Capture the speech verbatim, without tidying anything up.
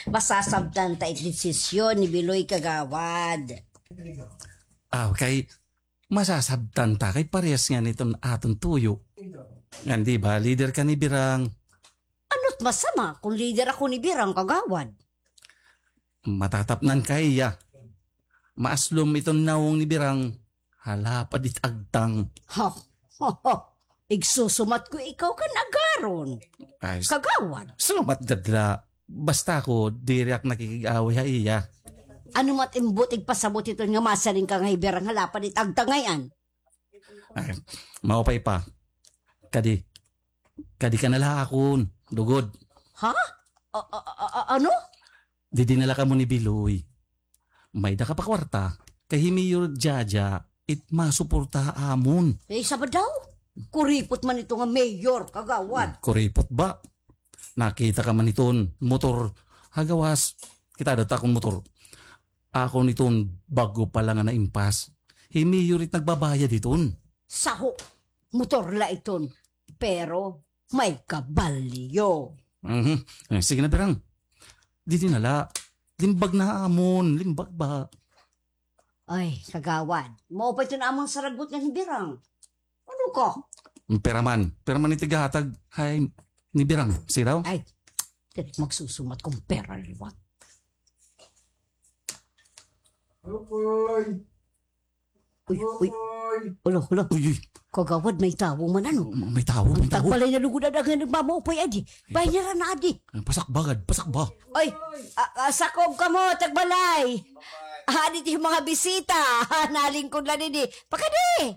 Masasabtan ta it desisyon ni Biloy, kagawad. Ah, kay masasabtan ta kay parehas ngani iton aton tuyo. Ngan di ba, leader ka ni Birang? Ano't masama kon leader ako ni Birang, kagawad? Matatapnan ka ha iya. Maaslom iton nawong ni Birang ha lapad it agtang. Ha? Ha, ha. Igsusumat ko ikaw kan agaron. Ay, s- Kagawad. Salamat gad la. Basta ako, diri ak nakikig-away ha iya. Ano mat im buot igpasabot hiton nga masiring ka nga hi Birang ha lapad it agtang ngay-an? Ay, maupay pa. Kadi, kadi ka na la akon, lugod. Ha? A-, a-, a-, a-, ano? Didi na la kamo ni Biloy. May-ada ka pa kwarta, kay hi Mayor Jaja, it masuporta ha amon. Eh, isa ba daw? Kuripot man ito nga mayor, kagawad. Hmm, kuripot ba? Nakita ka man iton motor ha gawas, kitada ta akon motor. Akon iton bag-o pa la nga naimpas. Hi Mayor it nagbabayad hiton. Saho, motor la iton. Pero may kabalyo. Mhm. Eh, sige na, Birang. Didi na la. Limbag na ha amon. Limbag ba? Ay, kagawad. Maupay iton amon saragot ngan hi Birang. Ano ka? Pira man. Pira man it igahatag ha iya ni Birang. Sige daw. Ay, diri magsusumat kon pira liwat. Uy, uy. Ulo, ulo. Uy, uy. Kagawad, may tawo man, ano? May tawo, may tawo. Tagbalay na lugod ada nga nagmamaupay adi. Bahin niya na adi. Pasakba gad, pasakba. Oy, a-, a-, sakob kamo, tagbalay. Adi it mga bisita. Nalingkod la didi. Pakadi.